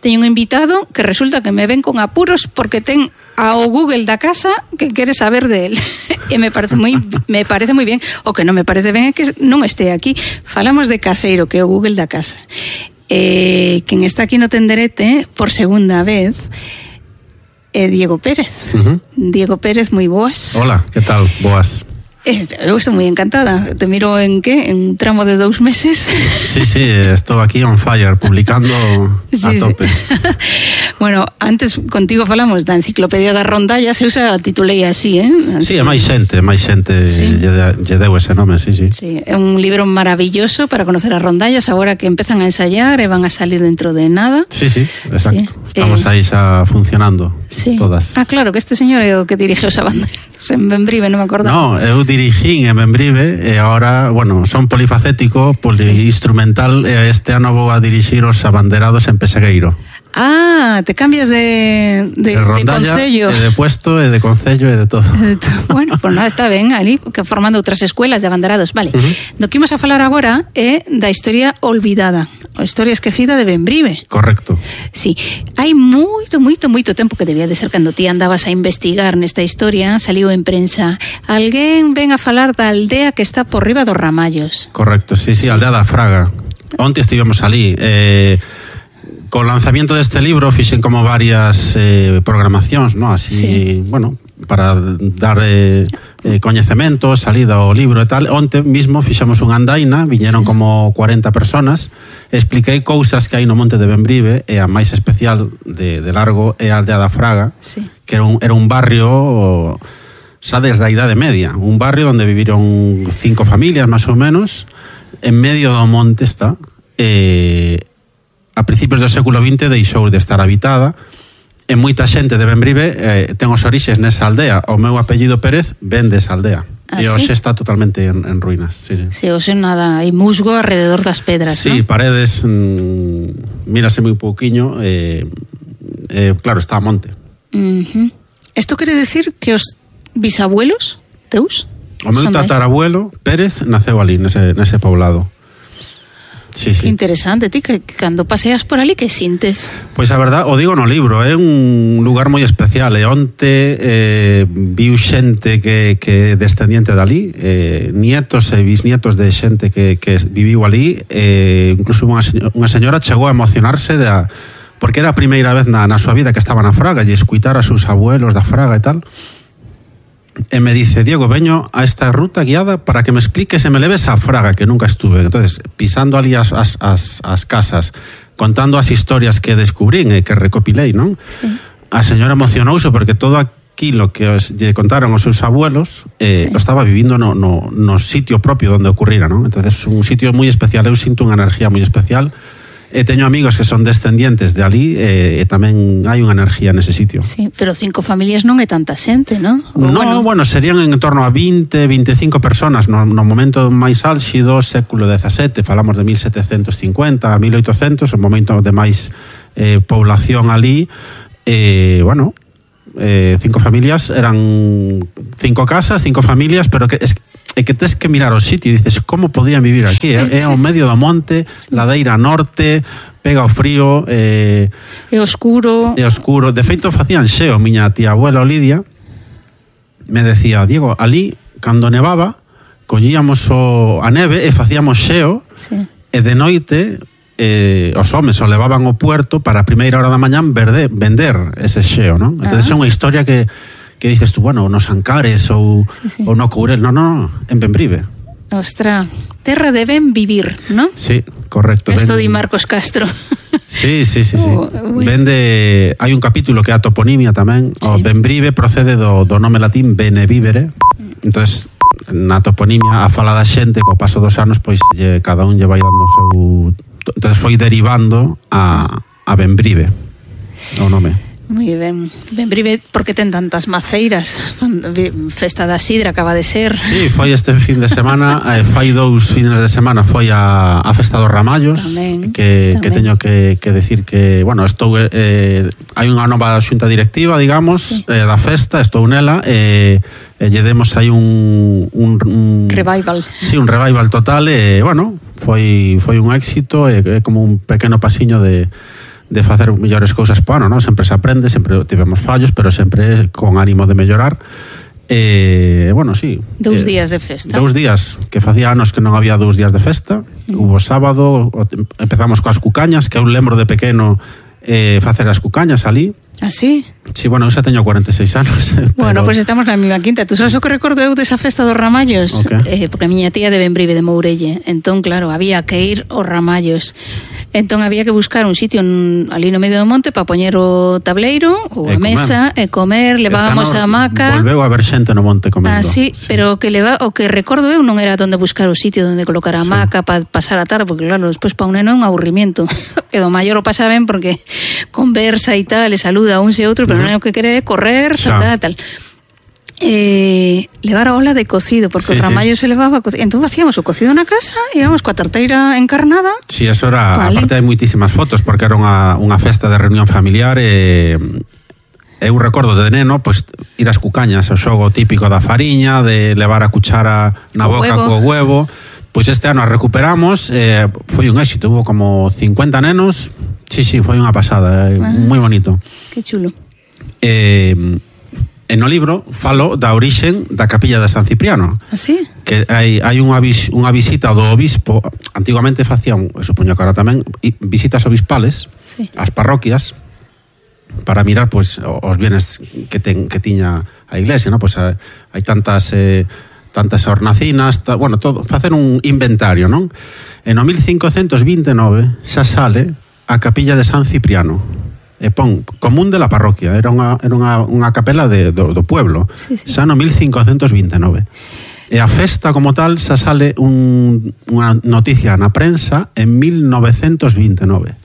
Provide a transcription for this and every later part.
teño un invitado que resulta que me ven con apuros porque ten ao Google da casa que quere saber de él. E me parece moi bien. O que non me parece ben é que non este aquí. Falamos de Caseiro, que é o Google da casa. Quen está aquí no tenderete por segunda vez é Diego Pérez. Diego Pérez, moi boas. Hola, que tal? Boas. Eu estou moi encantada. Te miro en que? En un tramo de 2 meses. Sí, estou aquí on fire, publicando a tope. Bueno, antes contigo falamos da enciclopedia das rondallas, eu xa titulei así, Sí, é máis xente sí. lle deu ese nome, sí. Sí, é un libro maravilloso para conocer as rondallas, agora que empezan a ensayar e van a salir dentro de nada. Sí, exacto. Sí. Estamos aí xa funcionando, todas. Ah, claro, que este señor é o que dirige os abanderos en Bembrive, non me acordo. No, eu dirigín en Bembrive e agora, bueno, son polifacético, poliinstrumental, e este ano vou a dirixir os abanderados en Pesegueiro. Ah, te cambias de concello. De puesto, e de concello, e de todo. Bueno, pues nada, está ben ali, que formando outras escuelas de abanderados. Vale, do que imos a falar agora é da historia olvidada, a historia esquecida de Bembrive. Correcto. Sí, hai moito tempo que debía de ser cando ti andabas a investigar nesta historia, saliu en prensa. Alguén ven a falar da aldea que está por riba dos Ramallos. Correcto, sí, aldea da Fraga. Onte estivemos ali, con lanzamiento deste libro fixen como varias programacións, ¿no? Así, bueno, para dar coñecemento, salida ao libro e tal. Onte mismo fixemos unha andaina, viñeron como 40 personas, expliquei cousas que hai no monte de Bembrive, e a máis especial de largo é a aldea da Fraga, que era un barrio xa desde a Idade Media, un barrio onde viviron 5 familias, máis ou menos, en medio do monte está, a principios do século XX deixou de estar habitada, e moita xente de Bembrive ten os orixes nesa aldea. O meu apellido Pérez ven desa aldea. E hoxe está totalmente en ruínas. Sí, hoxe nada, hai musgo alrededor das pedras, sí, ¿no? Paredes, mírase moi pouquiño, claro, está a monte. Isto quere decir que os bisabuelos teus? O meu tatarabuelo Pérez naceu ali, nese poblado. Sí. Que interesante, ti, que cando paseas por ali, que sintes? Pois a verdad, o digo no libro, é un lugar moi especial, e onte viu xente que é descendiente dali, nietos e bisnietos de xente que viviu ali, incluso unha señora chegou a emocionarse porque era a primeira vez na súa vida que estaba na Fraga, e escuitar a seus abuelos da Fraga e tal. E me dice, Diego, veño a esta ruta guiada para que me expliques e me leves a Fraga, que nunca estuve. Entonces, pisando ali as casas, contando as historias que descubrín e que recopilei, non? Sí. A señora emocionouse porque todo aquilo que lle contaron os seus abuelos lo estaba vivindo no sitio propio onde ocurrira, non? Entonces, un sitio moi especial, eu sinto unha energía moi especial. E teño amigos que son descendientes de ali, e tamén hai unha enerxía nese sitio. Sí, pero 5 familias non é tanta xente, non? Bueno, serían en torno a 20, 25 personas no momento máis álxido, século XVII, falamos de 1750 a 1800, o momento de máis población ali, bueno, 5 familias, eran 5 casas, 5 familias, pero que é que tes que mirar o sitio e dices, como podían vivir aquí? É ao medio do monte, ladeira norte, pega o frío, é oscuro. De feito, facían xeo. Miña tía abuela Lidia me decía, Diego, ali, cando nevaba, collíamos a neve e facíamos xeo, e de noite os homes o levaban ao puerto para a primeira hora da mañán vender ese xeo, non? Entón, é unha historia que dices tú, bueno, nos Ancares ou no Courel, no, en Bembrive. Ostra, terra de ben vivir, non? Sí, correcto. Esto di Marcos Castro. Sí. Hai un capítulo que é a toponimia tamén. O Bembrive procede do nome latín bene vivere. Entonces, na toponimia, a fala da xente, co paso dos anos, pois cada un lle vai dando o seu... Entonces foi derivando a Bembrive o nome. Moi ben. Bembrive, por que ten tantas maceiras? Festa da Sidra acaba de ser. Sí, foi este fin de semana, fai 2 fines de semana foi a Festa dos Ramallos, tamén. Que teño que decir que, bueno, estou hai unha nova xunta directiva, digamos, da festa, estou nela, lle demos aí un revival. Sí, un revival total, e, bueno, foi un éxito, é como un pequeno pasiño de facer mellores cousas para ano, non? Sempre se aprende, sempre tivemos fallos, pero sempre con ánimo de mellorar. Bueno, sí. 2 días de festa. 2 días, que facía anos que non había 2 días de festa. Hubo sábado, empezamos coas cucañas, que eu lembro de pequeno facer as cucañas ali. ¿Ah, sí? Sí, bueno, eu xa teño 46 anos. Bueno, pois pues estamos na mesma quinta. Tú sabes o que recordo eu desa festa dos Ramallos? Okay. Porque a miña tía de Benbrive, de Mourelle. Entón, claro, había que ir aos Ramallos. Entón había que buscar un sitio ali no medio do monte para poñer o tableiro ou a mesa e comer, levábamos a hamaca. Volveu a ver xente no monte comendo. Ah, sí. Pero o que recordo eu non era onde buscar o sitio onde colocar a hamaca para pasar a tarde, porque claro, despois para un neno é un aburrimiento. E do maior o pasa ben porque conversa e tal, e saluda a uns e outros, pero non é o que quere correr, saltar, tal. Levar a ola de cocido, porque o ramallo se levaba cocido. Entón facíamos o cocido na casa, íbamos coa tarteira encarnada. Sí, eso era, vale. Aparte hai moitísimas fotos, porque era unha festa de reunión familiar e eu recordo de neno, pois ir ás cucañas, o xogo típico da fariña, de levar a cuchara na boca co huevo. Pois este ano a recuperamos, foi un éxito, hubo como 50 nenos. Sí, foi unha pasada, moi bonito. Que chulo. E no libro falo da orixen da capilla de San Cipriano. ¿Ah, sí? Que hai unha visita do obispo. Antigamente facían, supoño que ahora tamén, visitas obispales ás parroquias para mirar pois os bienes que tiña a iglesia, ¿no? Pois hai tantas hornacinas, bueno, todo, facer un inventario, non? En o 1529 xa sale a capilla de San Cipriano. E pon común de la parroquia, era unha capela do pueblo. Sí. Xa no 1529. E a festa como tal xa sale unha noticia na prensa en 1929.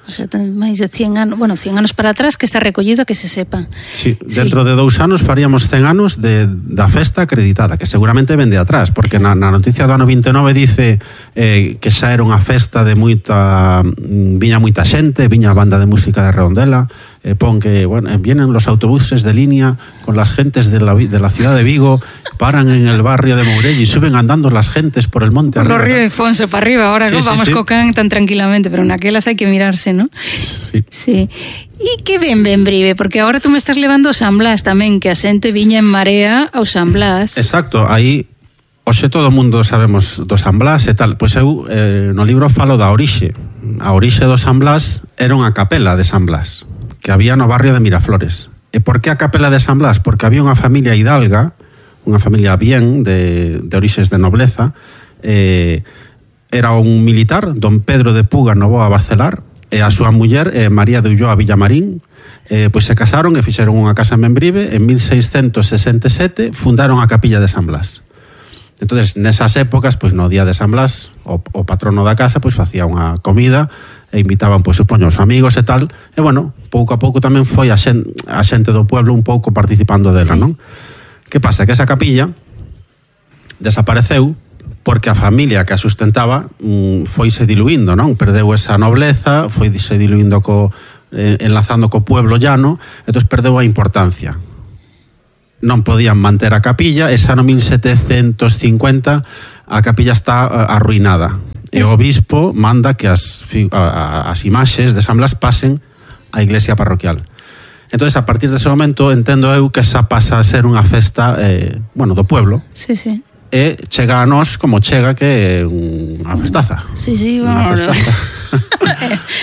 O sea, máis de 100 anos, bueno, 100 anos para atrás que está recollido, que se sepa. Sí, dentro de 2 anos faríamos 100 anos da festa acreditada, que seguramente vende atrás, porque na noticia do ano 29 dice que xa era unha festa de viña moita xente, viña a banda de música de Redondela, pon que, bueno, vienen los autobuses de línea con las gentes de la ciudad de Vigo, paran en el barrio de Mourelle y suben andando las gentes por el monte arriba. Por los ríos de Fonso para arriba, ahora sí, vamos cocan tan tranquilamente, pero naquelas hai que mirarse, ¿no? Sí. E que ben Benbrive, porque agora tú me estás levando ao San Blas tamén, que a xente viña en marea ao San Blas. Exacto, aí hoxe todo o mundo sabemos do San Blas e tal. Pois eu no libro falo da orixe. A orixe do San Blas era unha capela de San Blas que había no barrio de Miraflores. E por que a capela de San Blas? Porque había unha familia hidalga, unha familia bien de orixes de nobleza, era un militar, don Pedro de Puga Novoa Barcelar, e a súa muller, María de Ulloa Villamarín, pois se casaron e fixeron unha casa en Benbrive. En 1667 fundaron a capilla de San Blas. Entonces, nesas épocas, pois no día de San Blas, o patrono da casa pois facía unha comida e invitaban, pois supoño, os amigos e tal, e bueno, pouco a pouco tamén foi a xente do pueblo un pouco participando dela, non? Que pasa? Que esa capilla desapareceu porque a familia que a sustentaba foise diluindo, non? Perdeu esa nobleza, foise diluindo enlazando co pueblo llano, entón perdeu a importancia. Non podían manter a capilla, e xa no 1750 a capilla está arruinada. E o obispo manda que as imaxes de San Blas pasen á iglesia parroquial. Entonces, a partir dese momento, entendo eu que xa pasa a ser unha festa, do pueblo. Sí. E chega a nós como chega, que é unha festaza. Sí, bueno.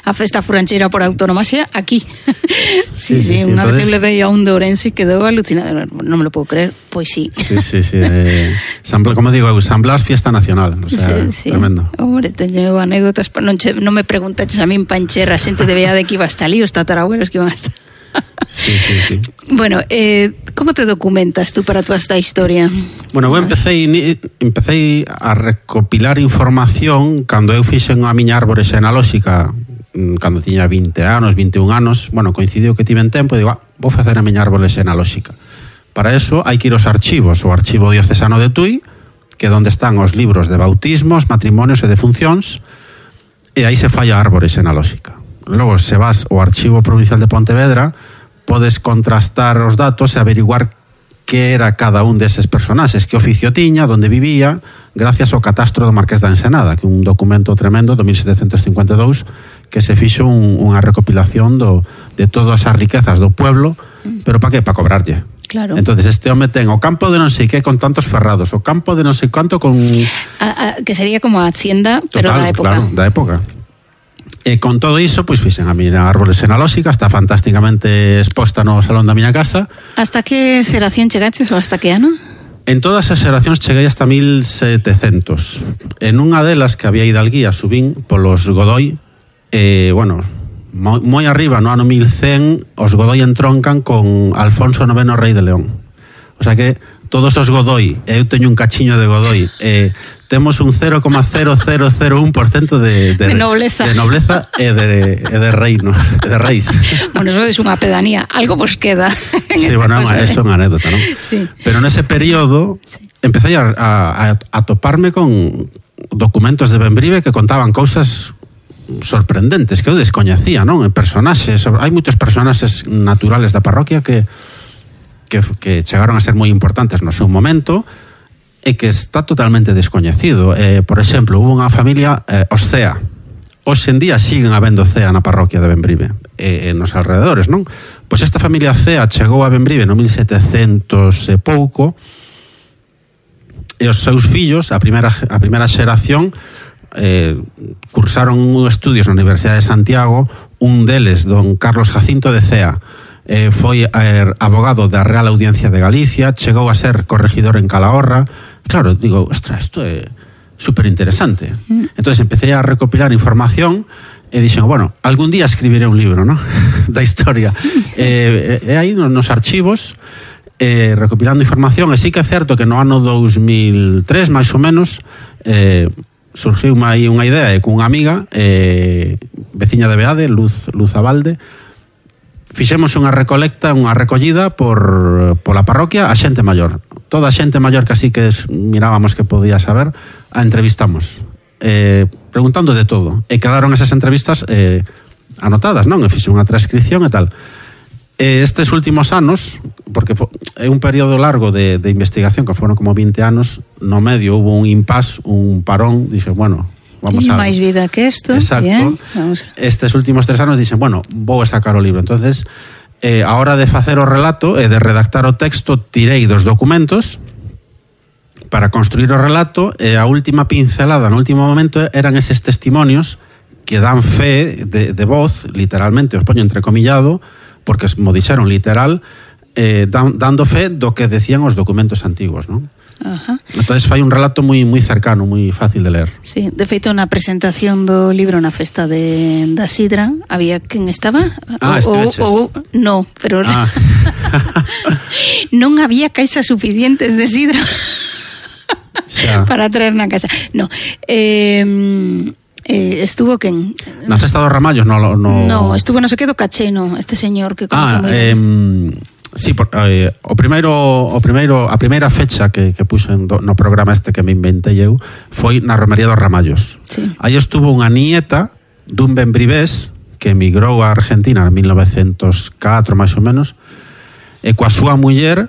A festa furancheira por autonomía aquí. Sí, unha vez le veía a un de Ourense e quedou alucinado. Non me lo puedo creer, pois sí. Sí. Como digo eu, San Blas, fiesta nacional. O sea, sí. Tremendo. Hombre, teño anécdotas, non me preguntaches a min pancherra, xente de veía de que iba hasta ali, os tatarabuelos que iban hasta... Sí. Bueno, como te documentas tú para toda esta historia? Bueno, eu empecé a recopilar información cando eu fixen a miña árbore xenealóxica cando tiña 20 anos, 21 anos. Bueno, coincidiu que tiven tempo e digo, vou facer a miña árbore xenealóxica. Para eso hai que ir aos archivos, o Archivo Diocesano de Tui, que é onde están os libros de bautismos, matrimonios e defuncións, e aí se fai a árbore xenealóxica. Logo, se vas ao Archivo Provincial de Pontevedra, podes contrastar os datos e averiguar que era cada un deses personaxes, que oficio tiña, onde vivía, gracias ao catastro do Marqués da Ensenada, que é un documento tremendo do 1752 que se fixo unha recopilación de todas as riquezas do pueblo, pero para que? Para cobrarlle. Claro. Entonces este home ten o campo de non sei que con tantos ferrados, o campo de non sei cuánto con... que sería como a hacienda, pero total, da época. Claro, da época. E con todo iso, pois fixen a miña árbore xenealóxica, está fantásticamente exposta no salón da miña casa. Hasta que xeración chegaches ou hasta que ano? En todas as xeracións cheguei hasta 1700. En unha delas que había hidalguía subín polos Godoy, bueno, moi arriba no ano 1100 os Godoy entroncan con Alfonso IX rei de León. O sea que todos os Godoy, eu teño un cachiño de Godoy, temos un 0,0001% de nobleza. De nobleza e de reino, de reis. Bueno, eso é unha pedanía, algo vos queda. Sí, bueno, é unha anécdota, non? Sí. Pero nese período empecé a toparme con documentos de Bembrive que contaban cousas sorprendentes que eu descoñecía, non? Personaxes, hai moitos personaxes naturales da parroquia que chegaron a ser moi importantes no seu momento e que está totalmente descoñecido. Por exemplo, hubo unha familia, os Cea. Hoxe en día siguen habendo Cea na parroquia de Bembrive, nos alrededores, non? Pois esta familia Cea chegou a Bembrive no 1700 e pouco, e os seus fillos, a primeira xeración, cursaron estudios na Universidade de Santiago. Un deles, don Carlos Jacinto de Cea, foi abogado da Real Audiencia de Galicia, chegou a ser corregidor en Calahorra. Claro, digo, ostras, isto é super interesante. Entonces empecé a recopilar información e dixen, bueno, algún día escribiré un libro, ¿no? Da historia. E aí nos archivos, recopilando información, e sí que é certo que no ano 2003, máis ou menos, surgiu aí unha idea cunha amiga, veciña de Beade, Luz Abalde. Fixemos unha recolecta, unha recollida pola parroquia a xente maior. Toda a xente maior que así que mirábamos que podía saber, a entrevistamos, preguntando de todo. E quedaron esas entrevistas anotadas, non? E fixe unha transcripción e tal. Estes últimos anos, porque é un período largo de investigación, que foron como 20 anos, no medio hubo un impasse, un parón, dixe, bueno, vamos a... máis vida que isto. Exacto. Bien, vamos a... Estes últimos 3 anos dixen, bueno, vou a sacar o libro. Entonces, a hora de facer o relato e de redactar o texto, tirei dos documentos para construir o relato, e a última pincelada no último momento eran eses testimonios que dan fe de voz, literalmente, os poño entrecomillado, porque mo dixeron literal, dando fe do que decían os documentos antigos, non? Ajá. Entonces fai un relato moi cercano, moi fácil de ler. Sí, de feito na presentación do libro na festa da Sidra había quen estaba? No, pero non había caixas suficientes de sidra para traer na casa. No, estuvo quen? Na festa dos Ramallos no, estuvo no se quedo Cacheno, este señor que conoce moi ben. Sí, a primeira fecha que puxen no programa este que me inventei eu foi na Romería dos Ramallos. Sí. Aí estuvo unha nieta dun bembrivés que emigrou a Argentina en 1904 máis ou menos, e coa súa muller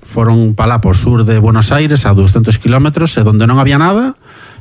foron para lá por sur de Buenos Aires a 200 kilómetros, e donde non había nada